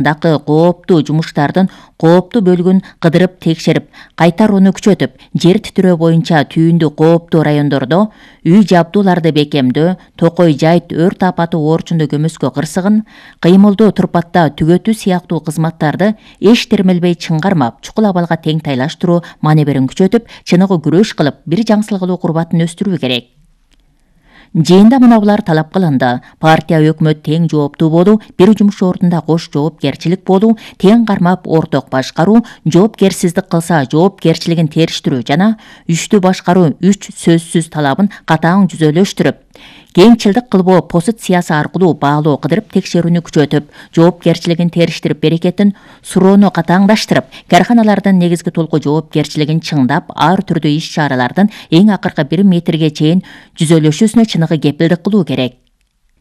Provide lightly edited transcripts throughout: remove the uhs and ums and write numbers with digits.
дагы кооптуу жумуштардын кооптуу бөлүгүн кыдырып текшерип, кайтарууну күчөтүп, жер титирөө боюнча түйүндү кооптуу райондордо үй жабдууларды бекемдөө, Токой Жайыт өрт апаты оорчундуу көмөскө кырсыгын, кыймылдуу турпатта түгөтүү сыяктуу кызматтарды эч термелбей чыңгармап, чукул абалга тең тайлаштыруу маневрин күчөтүп, чыныгы күрөш кылып, бир жаңсылгылуу курбатын өстүрүү керек. Жыйында мынабулар талап кылынды. Партия өкмөт тең жооптуу болуу, бир жумуш ордунда кош жоопкерчилик болуу, тең кармап орток башкаруу, жоопкерсиздик кылса жоопкерчилигин териштирүү жана үчтүү башкаруу 3 сөзсүз талабын катаң жүзөлөштүрүп, кеңчилдик кылбоо позициясы аркылуу баалоо кыдырып текшерүүнү күчөтүп, жоопкерчилигин териштирип, берекетин суроону катаңдаштырып, карханалардын негизги толку жоопкерчилигин чыңдап, ар түрдүү иш-чаралардын эң акыркы 1 метрге чейин жүзөлөшүүсүнө чыныгы кепилдик кылуу керек.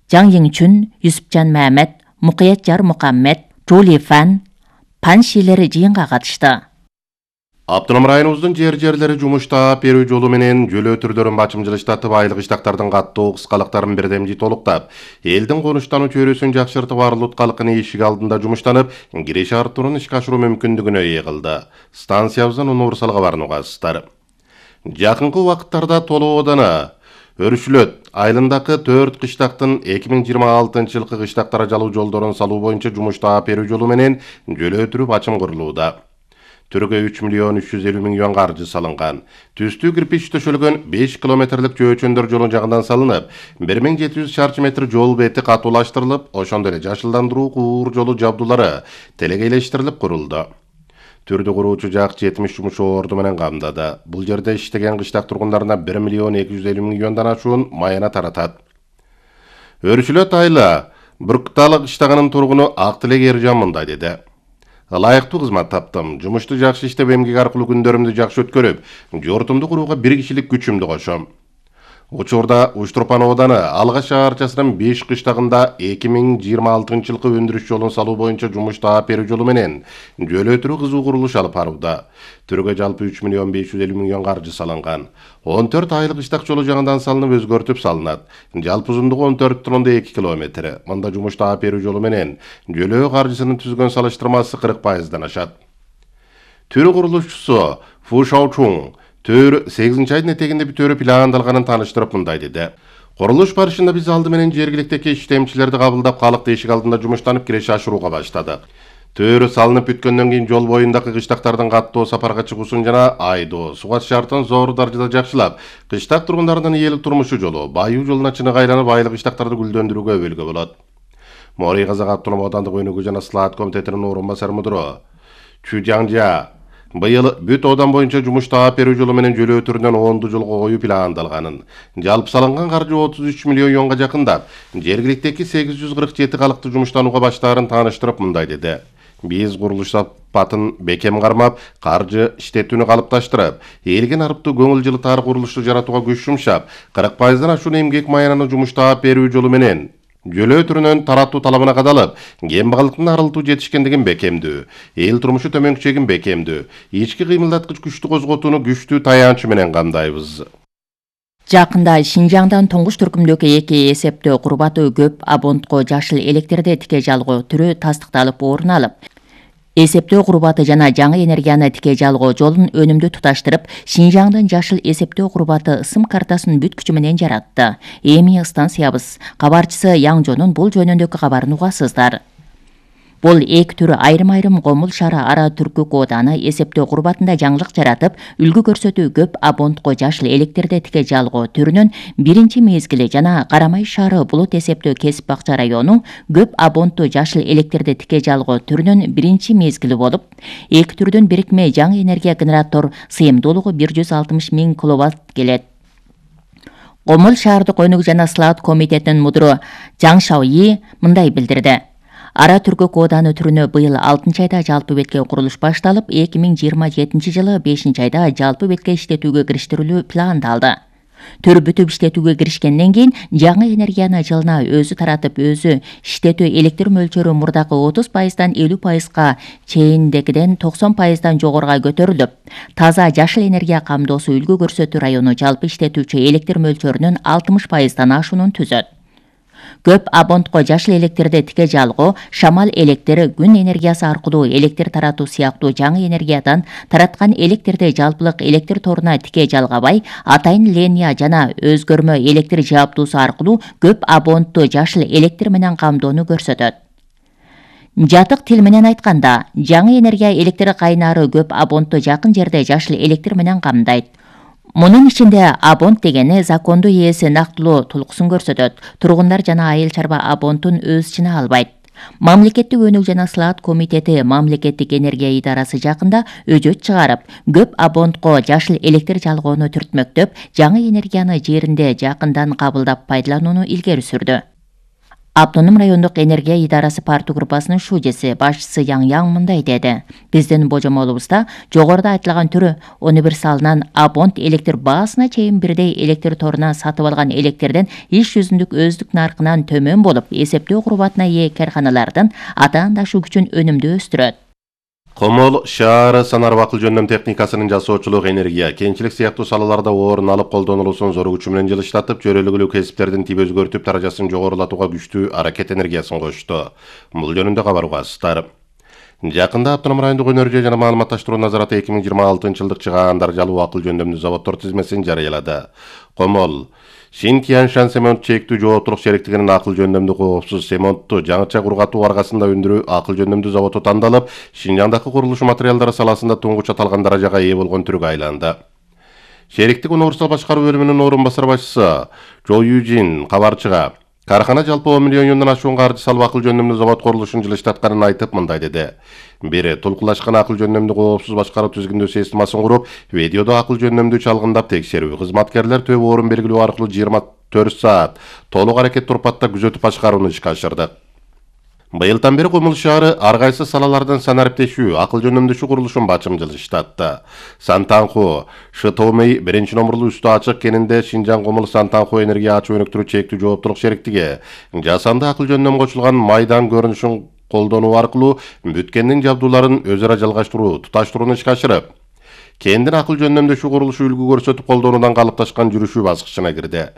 Жаң Йиңчүн, Юсупжан Мамед, Мукаятжар Мукаммед, Жули Фан, Паншилери жыйынга катышты. Автоном районубуздун жерлери жумушта берүү жолу менен жөлөө түрдөрүн бачымчылыштатып, айлык иштактардын каттуу кыскалыктарын бирдемжи толуктап, элдин конуштануу чөйрөсүн жакшыртып, арлык калкын эшик алдында жумуштанып, киреш артуурун ишке ашыруу мүмкүндүгүнө ээ кылды. Станциябыздын универсал кабарын угасыздар. Жакынкы убакыттарда Толоо ооданы Өрүшүлөт айылындагы 4 кыштактын 2026-жылкы кыштактара жалуу жолдорун салуу боюнча жумушта берүү жолу менен жөлөө түрү бачым курулууда. Түргө 3.350.000 юан каржы салынган. Түстүү кирпич төшөлгөн 5 километрлик жөөчөндөр жолун жагынан салынып, 1700 шарчы метр жол бети катуулаштырылып, ошондой эле жашылдандыруу куур жолу жабдуулары телекейлештирилип курулду. Түрдү куруучу жак 70 жумуш орду менен камдады. Бул жерде иштеген кыштак тургундарына 1.250.000 юандан ашуун маяна таратат. Өрүшүлөт айылы Бүркталык иштаганын тургуну Актилек Эржан мындай деди. Ылайыктуу кызмат таптым. Жумушту жакшы иштеп, эмгек аркылуу күндөрүмдү жакшы өткөрүп, жортумду курууга 1 кишилик күчүмдү кошом. Учурда Уч-Турпан ооданы Алга шаарчасынын 5 кыштагында 2026-жылкы өндүрүш жолун салуу боюнча жумуш таап берүү жолу менен жөлөө түрү кызуу курулуш алып барууда. Түргө жалпы 3.550.000 юан каржы салынган. 14 айлык иштак жолу жаңыдан салынып, өзгөртүп салынат. Жалпы узундугу 14,2 км. Мында жумуш таап берүү жолу менен жөлөө каржысынын түзгөн салыштырмасы 40%дан ашат. Түрү курулушчусу Фу Шаочун Төр 8 айдын этегинде бүтөөрү пландалганын тааныштырып мындай деди. Курулуш барышында биз алды менен жергиликтеги иштемчилерди кабылдап, калыкты эшик алдында жумуштанып, киреш ашырууга баштадык. Төр салынып бүткөндөн кийин жол боюндагы кыштактардын каттоо сапарга чыгуусун жана айдоо, суга шартын зор даражада жакшылап, кыштак тургундардын ийгилик турмушу жолу, баюу жолуна чыныгы айланып, айлык иштактарды гүлдөндүрүүгө өбөлгө болот. Мори Казак автоном оодандык өнүгүү жана слаат комитетинин орун басары мудуру Чу Жаңжа быйыл бүт оодан боюнча жумуш таап берүү жолу менен жөлөө түрүнөн 10 жолго коюу пландалганын, жалпы салынган каржы 33 миллион юанга жакындап, жергиликтеги 847 калыкты жумуштанууга баштаарын тааныштырып мындай деди. Биз курулуш сапатын бекем кармап, каржы иштетүүнү калыпташтырып, элген арыптуу көңүл жылытаар курулушту жаратууга күч жумшап, 40%дан ашуун эмгек маянаны жумуш таап берүү жолу менен жөлөө түрүнөн таратуу талабына кадалып, кембагалдыктын арылтуу жетишкендигин бекемдүү, эл турмушу төмөнкүчөгүн бекемдүү, ички кыймылдаткыч күчтү козготууну күчтүү таянчы менен камдайбыз. Жакында Шинжаңдан туңгуч түркүмдөгү 2 эсептөө курбаты көп абонтко жашыл электрде тике жалгоо түрү тастыкталып орун алып, эсептөө курбаты жана жаңы энергияны тике жалгоо жолун өнүмдүү туташтырып, Шинжаңдын жашыл эсептөө курбаты ысым картасын бүт күчү менен жаратты. Эми станциябыз кабарчысы Яңжонун бул жөнүндөгү кабарын угасыздар. Бул эки түрү айрым-айрым Комул шаары ара түркүк ооданы эсептөө курбатында жаңылык жаратып, үлгү көрсөтүү көп абонтко жашыл электрде тике жалгоо түрүнүн биринчи мезгили жана Карамай шаары булут эсептөө кесип бакча району көп абонттуу жашыл электрде тике жалгоо түрүнүн биринчи мезгили болуп, эки түрдүн бирикме жаңы энергия генератор сыйымдуулугу 160.000 киловатт келет. Комул шаардык өнүгүү жана слаат комитетинин мудуру Жаң Шаои мындай билдирди. Ара түркүк ооданы түрүнө быйыл 6 айда жалпы бетке курулуш башталып, 2027 жылы 5 айда жалпы бетке иштетүүгө кириштирилүү пландалды. Төр бүтүп иштетүүгө киришкенден кийин жаңы энергияны жылына өзү таратып, өзү иштетүү электр мөлчөрү мурдакы 30%дан 50%га чейиндегиден 90%дан жогоруга көтөрүлүп, таза жашыл энергия камдоосу үлгү көрсөтүү району жалпы иштетүүчү электр мөлчөрүнүн 60%дан ашуунун түзөт. Көп абонтко жашыл электрди тике жалгоо, шамал электри, күн энергиясы аркылуу электр таратуу сыяктуу жаңы энергиядан тараткан электрди жалпылык электр торуна тике жалгабай, атайын линия жана өзгөрмө электр жааптуусу аркылуу көп абонтту жашыл электр менен камдоону көрсөтөт. Жатык тил менен айтканда, жаңы энергия электр кайнары көп абонтту жакын жерде жашыл электр менен камдайт. Мунун ичинде абонт дегени закондуу ээси нактылуу тулкусын көрсөтөт. Тургундар жана айыл чарба абонтун өз ичине албайт. Мамлекеттик өнүк жана сылаат комитети мамлекеттик энергия идарасы жакында өжөт чыгарып, көп абонтко жашыл электр жалгоону түртмөктөп, жаңы энергияны жеринде жакындан кабылдап пайдаланууну илгери сүрдү. Автоном райондук энергия идарасы парту группасынын шужеси башчысы Яң мындай деди. Биздин божомолубузда жогоруда айтылган түрү универсалынан абонт электр баасына чейин бирдей электр торунан сатып алган электрден иш жүзүндүк өздүк наркынан төмөн болуп, эсептөө курбатына ээ карканалардын атаандашы күчүн өнүмдү өстүрөт. Комол шаары санар акыл жөндөм техникасынын жасоочулук, энергия, кенчилик сыяктуу салаларда орун алып колдонулуусун зор күчү менен жылыштатып, чөйрөлүгүлүү кесиптердин тип өзгөртүп, даражасын жогорулатууга күчтүү аракет энергиясын кошту. Бул жөнүндө кабар угасыздар. Жакында Автоном райондук өнөр жана маалыматташтыруу назараты 2026-жылдык чыгаан даражалуу акыл жөндөмдүү заводдор тизмесин жарыялады. Комол Шинтианшан Семонт чектүү жооптулук шериктигинин акыл жөндөмдүү коопсуз семонтту жаңыча кургатуу аркасында өндүрүү акыл жөндөмдүү заводу тандалып, Шинжаңдагы курулуш материалдары саласында туңгуч аталган даражага ээ болгон түргө айланды. Шериктик универсал башкаруу бөлүмүнүн орун басар башчысы Жо Южин кабарчыга кархана жалпы 10 миллион юандан ашуун каржы салып акыл жөндөмдүү завод курулушун жылыштатканын айтып, мындай деди. Бири толкулашкан акыл жөндөмдүү коопсуз башкаруу түзгүндөө системасын куруп, видеодо акыл жөндөмдүү чалгындап текшерүү, кызматкерлер төп орун белгилөө аркылуу 24 саат толук аракет турпатта күзөтүп башкарууну ишке ашырды. Быйылдан бери Комул шаары ар кайсы салалардан санариптешүү, акыл жөндөмдүү курулушун бачым жылыштатты. Сантанху, Шытомей биринчи номурлуу үстү ачык кенинде Шинжаң Комул Сантанху энергия ачуу өнүктүрүү чектүү жооптулук шериктиги жасанды акыл жөндөм кочулган майдан көрүнүшүн колдонуу аркылуу бүткендин жабдууларын өз ара жалгаштыруу, туташтырууну ишке ашырып, кендин акыл жөндөмдөшүү курулушу үлгү көрсөтүп колдонуудан калыпташкан жүрүшүү баскычына кирди.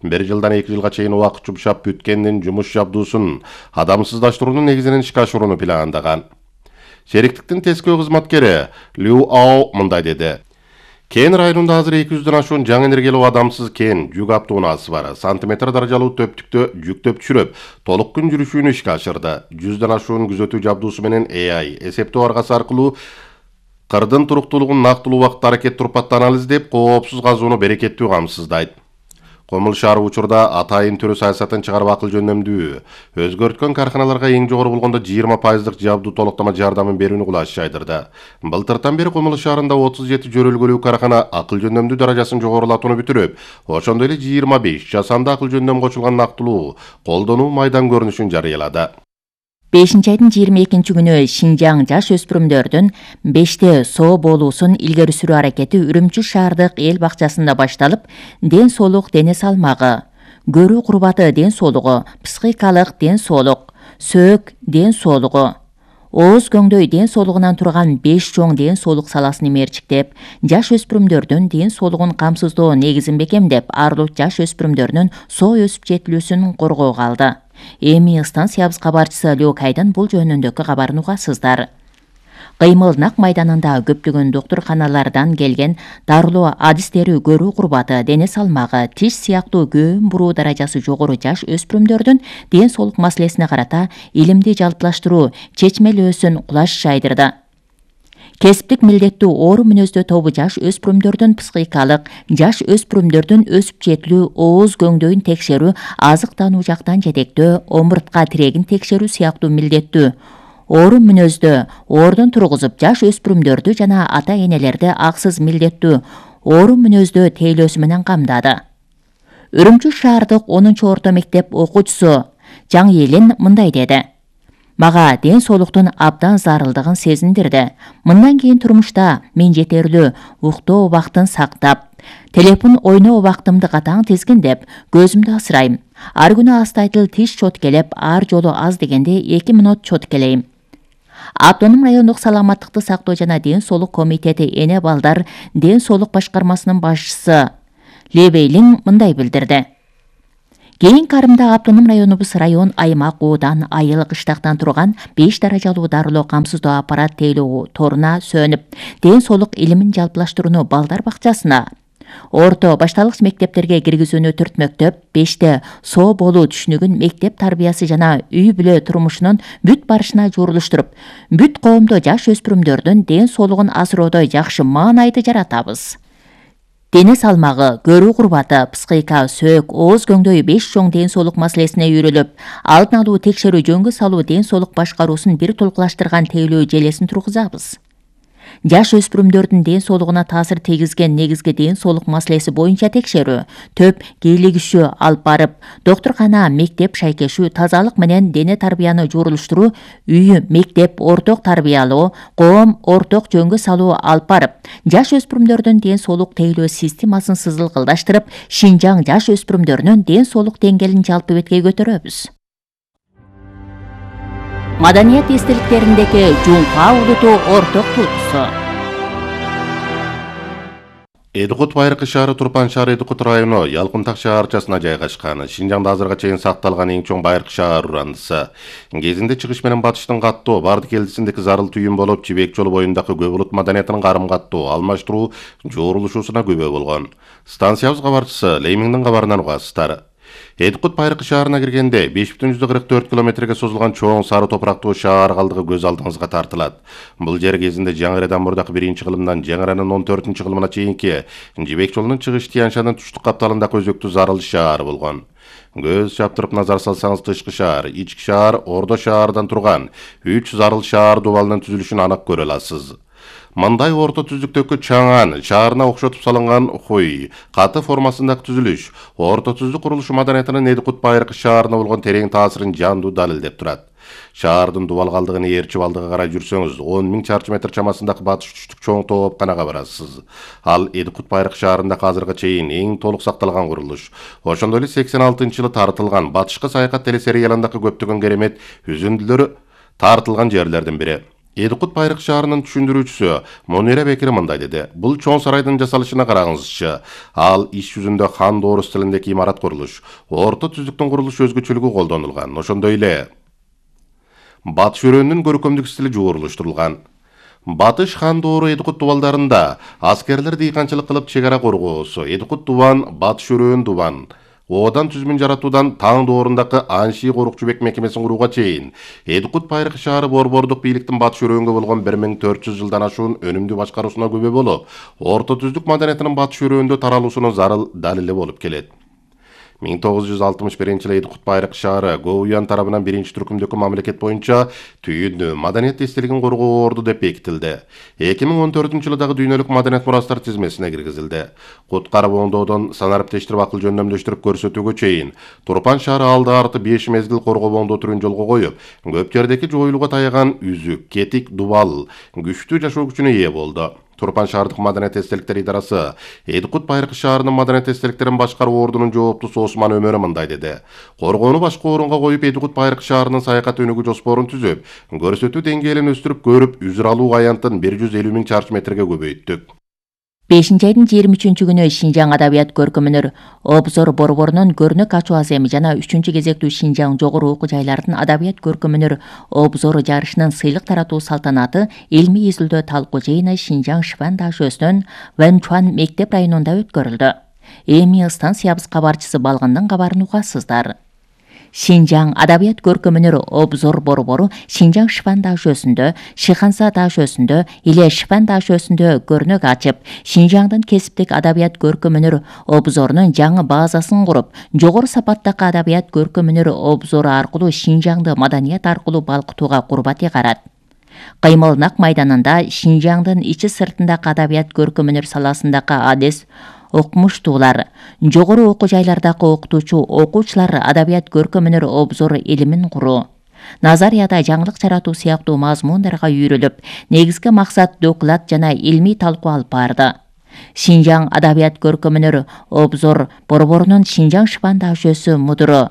1 жылдан 2 жылга чейин убакыт жумшап бүткендин жумуш жабдуусун адамсыздаштыруунун негизинен ишке ашырууну пландаган. Шериктиктин тескөө кызматкери Лю Ао мындай деди. Кен районунда азыр 200дөн ашуун жаңы энергиялуу адамсыз кен жүк автоунаасы бар. Сантиметр даражалуу төптүктө жүктөп түшүрүп, толук күн жүрүшүүнү ишке ашырды. 100дөн ашуун күзөтүү жабдуусу менен AI эсептөө аргасы аркылуу кырдын туруктуулугун нактылуу убакытта аракет турпатта анализдеп, коопсуз казууну берекеттүү камсыздайт. Комул шаары учурда атайын түрү саясатын чыгарып акыл жөндөмдүү өзгөрткөн карханаларга эң жогору болгондо 20% жабдуу толуктама жардамын берүүнү кулаш жайдырды. Былтыртан бери Комул шаарында 37 жөрөлгөлүү кархана акыл жөндөмдүү даражасын жогорулатууну бүтүрүп, ошондой эле 25 жасанды акыл жөндөм кочулган нактылуу колдонуу майдан көрүнүшүн жарыялады. 5-айдын 22-күнү Шинжаң жаш өспүрүмдөрдүн 5те соо болуусун илгери сүрүү аракети Үрүмчү шаардык эл бакчасында башталып, ден соолук, дене салмагы, көрүү курбаты ден соолугу, психикалык ден соолук, сөөк ден соолугу, ооз көңдөй ден соолугунан турган 5 чоң ден соолук саласын мерчиктеп, жаш өспүрүмдөрдүн ден соолугун камсыздоо негизин бекемдеп, арлык жаш өспүрүмдөрдүн соо өсүп жетилүүсүн коргоого алды. Эми станциябыз кабарчысы Лёкайдын бул жөнүндөгү кабарын угасыздар. Кыймыл нак майданында көптөгөн доктурканалардан келген дарылоо адистери көрүү курбаты, дене салмагы, тиш сыяктуу көөн буруу даражасы жогору жаш өспүрүмдөрдүн ден соолук маселесине карата илимди жалпылаштыруу чечмелөөсүн кулаш жайдырды. Кесиптик милдеттүү оору мүнөздүү тобу жаш өспүрүмдөрдүн психикалык, жаш өспүрүмдөрдүн өсүп жетилүү, ооз көңдөйүн текшерүү, азыктануу жактан жетектөө, омуртка тирегин текшерүү сыяктуу милдеттүү оору мүнөздүү оордон тургузуп, жаш өспүрүмдөрдү жана ата энелерди аксыз милдеттүү оору мүнөздүү тейлөөсү менен камдады. Үрүмчү шаардык 10-орто мектеп окуучусу Жаң мындай деди. Мага ден соолуктун абдан зарылдыгын сезиндирди. Мындан кийин турмушта мен жетерлүү уктоо убактын сактап, телефон ойноо убактымды катаң тизгиндеп, көзүмдү асырайм. Ар күнү астайтыл тиш чоткелеп, ар жолу аз дегенде 2 мүнөт чоткелейм. Автоном райондук саламаттыкты сактоо жана ден соолук комитети эне балдар ден соолук башкармасынын башчысы Лебейлин мындай билдирди. Кийин Карымда автоном районубуз район, аймак, оодан, айыл, кыштактан турган 5 даражалуу дарылоо камсыздоо аппарат тейлөө торуна сөнүп, ден соолук илимин жалпылаштырууну балдар бакчасына, орто башталгыч мектептерге киргизүүнү 4 мектеп, 5те соо болуу түшүнүгүн мектеп тарбиясы жана үй бүлө турмушунун бүт барышына жуурулуштуруп, бүт коомдо жаш өспүрүмдөрдүн ден соолугун асыроодо жакшы маанайды жаратабыз. Дене салмагы, көрүү курбаты, психика, сөөк, ооз көңдөй 5 чоң ден соолук маселесине үйрөлүп, алдын алуу, текшерүү, жөнгө салуу ден соолук башкаруусун бир толукташтырган тейлөө желесин тургузабыз. Жаш өспүрүмдөрдүн ден соолугуна таасир тийгизген негизги ден соолук маселеси боюнча текшерүү, төп кийлигишүү алып барып, доктуркана, мектеп шайкешүү, тазалык менен дене тарбияны жуурулуштуруу, үй, мектеп, орток тарбиялоо, коом орток жөнгө салуу алып барып, жаш өспүрүмдөрдүн ден соолук тейлөө системасын сызылкылдаштырып, Шинжаң жаш өспүрүмдөрүнүн ден соолук деңгээлин жалпы бетке көтөрөбүз. Маданият эстеликтериндеги Жумка улуту орток туутусу. Эдикут Байыркы шаары Турпан шаары Эдикут району Ялкынтак шаарчасына жайгашкан. Шинжаңда азырга чейин сакталган эң чоң Байыркы шаар урандысы. Кезинде чыгыш менен батыштын каттоо барды келдисиндеги зарыл түйүн болуп, Жибек жолу боюндагы көп улут маданиятынын карым каттоо, алмаштыруу, жуурулушуусуна күбө болгон. Станциябыз кабарчысы Леймиңдин кабарынан угасыздар. Эдикут Байыркы шаарына киргенде 5,44 километрге созулган чоң сары топурактуу шаар калдыгы көз алдыңызга тартылат. Бул жер кезинде Жаңырадан мурдакы 1-кылымдан Жаңыранын 14-кылымына чейинки Жибек жолунун чыгыш Тияншанын туштук капталындагы өзөктүү зарыл шаар болгон. Көз чаптырып назар салсаңыз, тышкы шаар, ички шаар, ордо шаардан турган 3 зарыл шаар дубалынын түзүлүшүн анык көрө аласыз. Мындай орто түздүктөгү чаңан, шаарына окшотуп салынган хуй, каты формасындагы түзүлүш, орто түздүк курулушу маданиятынын Эдикут Байыркы шаарына болгон терең таасирин жандуу далилдеп турат. Шаардын дубал калдыгын ээрчип алдыга карай жүрсөңүз, 10 000 чарчы метр чамасындагы батыш түштүк чоң тоопканага барасыз. Ал Эдикут Байыркы шаарында азырга чейин эң толук сакталган курулуш. Ошондой эле 86-жылы тартылган батышкы саякат телесериалындагы көптөгөн керемет үзүндүлөр тартылган жерлердин бири. Эдикут Байыркы шаарынын түшүндүрүүчүсү Монира Бекир мындай деди. Бул чоң сарайдын жасалышына караңызчы. Ал иш жүзүндө хан доору стилиндеги имарат курулуш. Орто түздүктүн курулуш өзгөчөлүгү колдонулган. Ошондой эле батыш өрөөнүнүн көркөмдүк стили жуурулуштурулган. Батыш хан доору Эдикут дубалдарында аскерлер дыйканчылык кылып чек ара коргоосу, Эдикут дубан, батыш өрөөн дубан, оодан түзмүн жаратуудан таң доорундагы Анши корукчубек мекемесин курууга чейин Эдикут Байыркы шаары борбордук бийликтин батыш өрөөнгө болгон 1400 жылдан ашуун өнүмдүү башкаруусуна күбө болуп, орто түздүк маданиятынын батыш өрөөндө таралуусунун зарыл далили болуп келет. 1961-жылы Эдикут Байыркы шаары ГОУЯН тарабынан 1-түркүмдөгү мамлекет боюнча түйүндүү маданият эстелигин коргоо орду деп бекитилди. 2014-жылы дагы дүйнөлүк маданият мурастар тизмесине киргизилди. Куткарып оңдоодон санариптештирип акыл жөндөмдөштүрүп көрсөтүүгө чейин Турпан шаары алды арты 5 мезгил коргоо оңдоо түрүн жолго коюп, көп жердеги жоюлууга таяган үзүк, кетик, дубал күчтүү жашоо күчүнө ээ болду. Турпан шаардык маданият эстеликтер идарасы Эдикут Байыркы шаарынын маданият эстеликтерин башкаруу ордунун жооптусу Осман Өмөрү мындай деди. Коргоону башка орунга коюп, Эдикут Байыркы шаарынын саякат өнүгүү жоспорун түзүп, көрсөтүү деңгээлин өстүрүп көрүп, үзүр алуу аянтын 150 000 чарчы метрге көбөйттүк. 5-айдын 23-күнү Шинжаң адабият көркөмүнөр Обзор борборунун көрнөк ачуу аземи жана 3-кезектүү Шинжаң жогору окуу жайлардын адабият көркөмүнөр Обзор жарышынын сыйлык таратуу салтанаты илмий изилдөө талкуу жыйыны Шинжаң Шифан дашөсүнүн Вэнчуан мектеп районунда өткөрүлдү. Эми станциябыз кабарчысы Балгындын кабарын угасыздар. Шинжаң адабият көркөмүнөр Обзор борбору Шинжаң Шифан дашөсүндө, Шиханса дашөсүндө, Иле Шифан дашөсүндө көрнөк ачып, Шинжаңдын кесиптик адабият көркөмүнөр Обзорунун жаңы базасын куруп, жогору сапаттагы адабият көркөмүнөр Обзору аркылуу Шинжаңды маданият аркылуу балкытууга курбат карат. Кыймыл Нак майданында Шинжаңдын ичи сыртындагы адабият көркөмүнөр саласындагы адес окумуштуулар, жогору окуу жайлардагы окутуучу окуучулар адабият көркөмүнөр Обзор илимин куруу, назарияда жаңылык жаратуу сыяктуу мазмундарга үйрөлүп, негизги максат доклад жана илмий талкуу алып барды. Шинжаң адабият көркөмүнөр Обзор борборунун Шинжаң Шифан дашөсү мудуру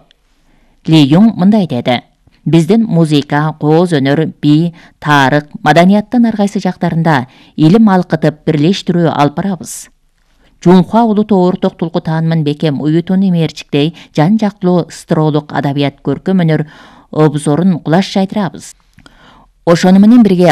Ли Юң мындай деди. Биздин музыка, кооз өнөр, би, тарых, маданияттын ар кайсы жактарында илим алкытып бирлештирүү алып барабыз. Жунхуа улуту орток тулку таанымын бекем уютууну мерчиктей жан жактылуу ыстыроолук адабият көркөм өнөр обзорун кулаш жайдырабыз. Ошону менен бирге